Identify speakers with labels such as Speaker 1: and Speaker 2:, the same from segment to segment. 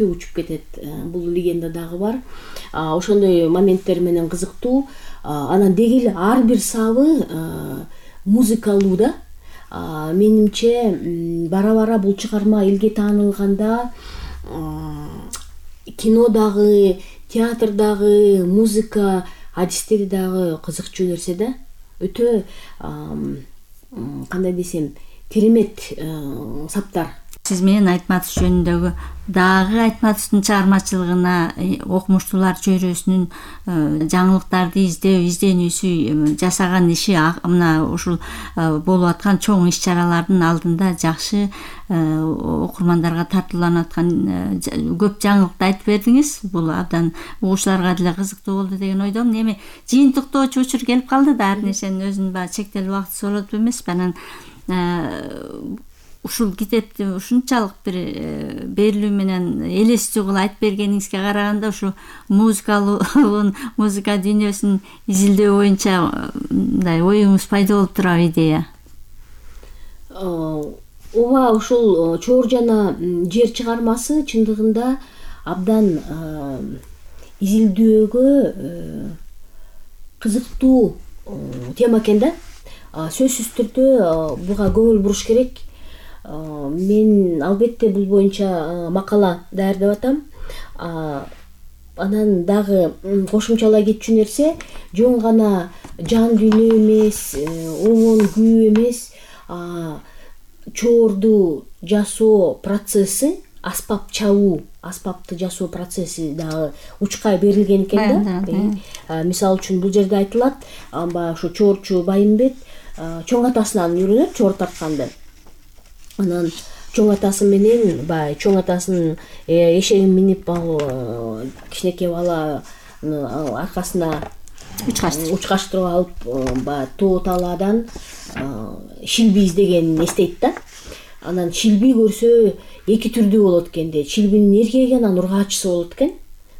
Speaker 1: учуп кетет. Бул легенда дагы бар. Ошондой моменттер менен кызыктуу. Анан деги эле ар бир сабы музыкалуу да. Менимче бара бул чыгарма элге таанылганда кинодагы, театрдагы музыка адистери дагы кызыкчу нерсе да. Өтө кандай десем, керемет саптар.
Speaker 2: Сиз менен Айтматов жөнүндөгү дагы Айтматовдун чыгармачылыгына окумуштуулар чөйрөсүнүн жаңылыктарды изденүүсү жасаган иши мына ушул болуп аткан чоң иш-чаралардын алдында жакшы окурмандарга тартууланып аткан көп жаңылыкты айтып бердиңиз. Бул абдан угуучуларга деле кызыктуу болду деген ойдомун. Эми жыйынтыктоочу учур келип калды да, ар нерсенин өзүнүн баягы чектелүү убактысы болот эмеспи? Анан ушул китепти ушунчалык бир берилүү менен элестүү кылып айтып бергениңизге караганда ушу музыка дүйнөсүн изилдөө боюнча мындай оюңуз пайда болуп турабы, идея?
Speaker 1: Ооба, ушул Чоор жана жер чыгармасы чындыгында абдан изилдөөгө кызыктуу тема экен да. Сөзсүз түрдө буга көңүл буруш керек. Мен албетте бул боюнча макала даярдап атам. Анан дагы кошумчалай кетчү нерсе, жөн гана жан дүйнө эмес, оңон күйүү эмес, чоорду жасоо процесси, аспап чабуу, аспапты жасоо процесси дагы учкай берилген экен да. Мисалы үчүн бул жерде айтылат, баягы ушу чоорчу Байымбет чоң атасынан үйрөнөт чоор тартканды. Анан чоң атасы менен баягы чоң атасынын эшегин минип кичинекей бала аркасына учкаштырып алып баягы тоо талаадан шилби издегенин эстейт да. Анан шилби көрсө эки түрдүү болот экен дейт. Шилбинин эркеги анан ургаачысы болот экен.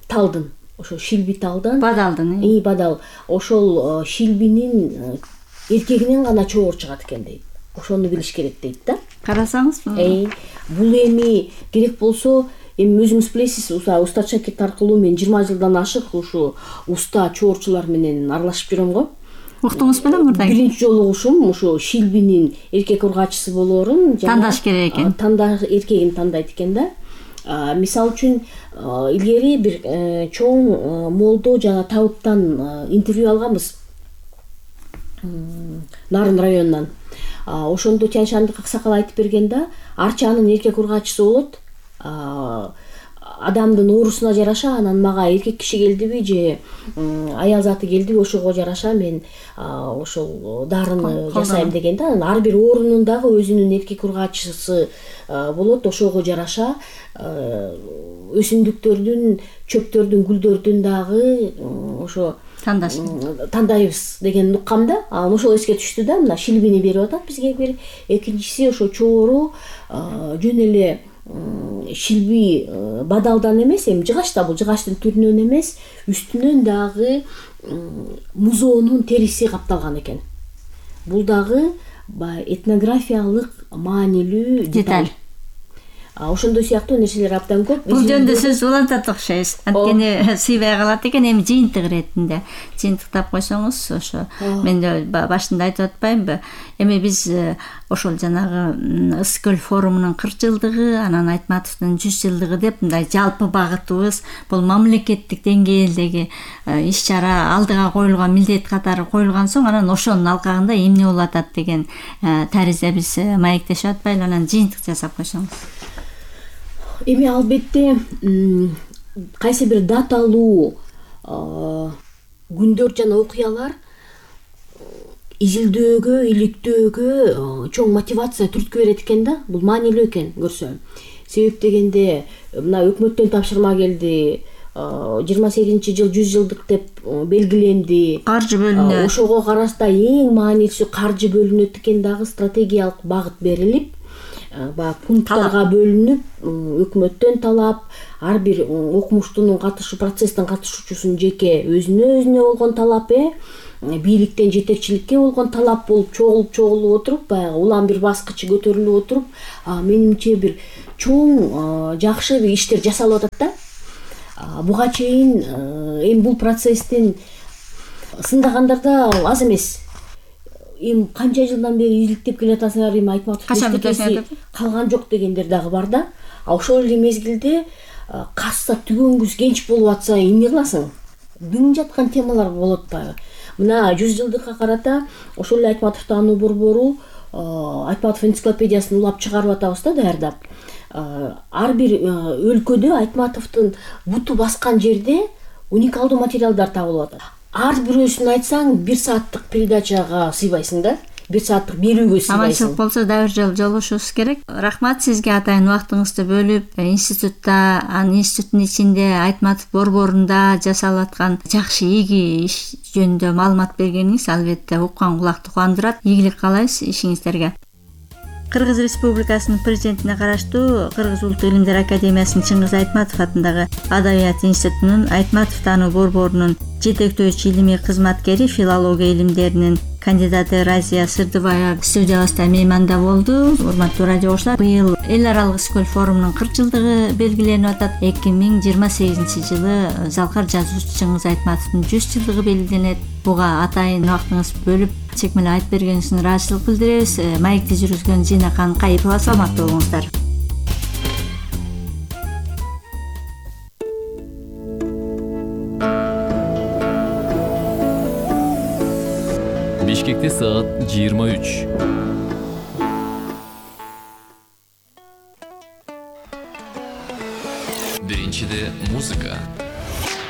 Speaker 1: Талдын, ошо шилби талдан.
Speaker 2: Бадалдын.
Speaker 1: Бадал. Ошол шилбинин эркегинен гана чоор чыгат экен дейт. Ошону билиш керек дейт да.
Speaker 2: Карасаңыз,
Speaker 1: бул эми керек болсо, эми өзүңүз билесиз, Уста Шакирт аркылуу мен 20 жылдан ашык ушу уста чоорчулар менен аралашып жүрөм го.
Speaker 2: Уктуңуз белем мурда?
Speaker 1: Биринчи жолугушум ушу шилбинин эркек ургаачысы болоорун
Speaker 2: тандаш керек экен.
Speaker 1: Эркегин тандайт экен да. Мисалы үчүн илгери бир чоң молдо жана табыттан интервью алганбыз. Нарын районунан. Ошондо Тяньшандык аксакал айтып бергенде, арчанын эркек ургаачысы болот. Адамдын оорусуна жараша, анан мага эркек киши келдиби же аял заты келдиби, ошого жараша мен ошол дарыны жасайм дегенде, анан ар бир оорунун дагы өзүнүн эркек ургаачысы болот. Ошого жараша өсүмдүктөрдүн, чөптөрдүн, гүлдөрдүн дагы ошо тандайбыз деген уккам да. Ошол эске түштү да. Мына шилбини берип атат бизге бир. Экинчиси ошо чоору жөн эле шилби бадалдан эмес, эми жыгач да, бул жыгачтын түрүнөн эмес, үстүнөн дагы музоонун териси капталган экен. Бул дагы этнографиялык маанилүү деталь. Ошондой сыяктуу нерселер абдан көп.
Speaker 2: Бул жөнүндө сөз улантат окшойбуз. Анткени сыйбай калат экен. Эми жыйынтык иретинде жыйынтыктап койсоңуз, ошо мен башында айтып атпаймынбы? Эми биз ошол жанагы Ысык көл форумунун 40 жылдыгы, анан Айтматовдун 100 жылдыгы деп мындай жалпы багытыбыз бул мамлекеттик деңгээлдеги иш-чара алдыга коюлган милдет катары коюлган соң, анан ошонун алкагында эмне болуп атат деген таризде биз маектешип атпайлы, анан жыйынтык жасап койсоңуз.
Speaker 1: Эми албетте кайсы бир даталуу күндөр жана окуялар изилдөөгө, иликтөөгө чоң мотивация түрткү берет экен да. Бул маанилүү экен көрсө. Себеп дегенде мына өкмөттөн тапшырма келди, 28-жыл 100 жылдык деп белгиленди.
Speaker 2: Каржы бөлүнөт.
Speaker 1: Ошого карашта эң маанилүүсү каржы бөлүнөт экен, дагы стратегиялык багыт берилип, баягы пункттарга бөлүнүп, өкмөттөн талап, ар бир окумуштунун процесстин катышуучусунун жеке өзүнө болгон талап, бийликтен жетекчиликке болгон талап болуп чогулуп отуруп, баягы улам бир баскычы көтөрүлүп отуруп, менимче бир чоң жакшы бир иштер жасалып атат да. Буга чейин эми бул процесстин сындагандарда аз эмес. Эми канча жылдан бери изилтеп келатасыңар, эми Айтматовдун эчтекеси калган жок дегендер дагы бар да. Ошол эле мезгилде касса түгөнгүс кенч болуп атса эмне кыласың? Бүң жаткан темалар болуп атпайбы? Мына 100 жылдыкка карата ошол эле Айтматов таануу борбору Айтматов энциклопедиясын улап чыгарып атабыз да, даярдап. Ар бир өлкөдө Айтматовдун буту баскан жерде уникалдуу материалдар табылып атат. Ар бирөөсүн айтсаң 1 сааттык передачага сыйбайсың да. 1 сааттык берүүгө сыйбайсың.
Speaker 2: Аманчылык болсо дагы бир жолу жолугушубуз керек. Рахмат сизге атайын убактыңызды бөлүп, институтта, анын институттун ичинде Айтматов борборунда жасалып аткан жакшы ийги иш жөнүндө маалымат бергениңиз албетте уккан кулакты кубандырат. Ийгилик каалайбыз ишиңиздерге. Кыргыз Республикасынын президентине караштуу Кыргыз Улуттук илимдер академиясынын Чыңгыз Айтматов атындагы Адабият институтунун Айтматов таануу борборунун жетектөөчү илимий кызматкери, филология илимдеринин кандидаты Разия Сырдыбаева студиябызда мейманда болду. Урматтуу радио оглушуулар, быйыл эл аралык Скөл форумунун 40 жылдыгы белгиленип атат. 2028-жылы залкар жазуучу Чыңгыз Айтматовдун 100 жылдыгы белгиленет. Буга атайын убактыңыз бөлүп, чекмелеп айтып бергениңиз үчүн ыраазычылык билдиребиз. Маекти жүргүзгөн Зинакан Кайыпова, саламаттуу болуңуздар.
Speaker 3: Бишкекте саат 23. Биринчиде музыка.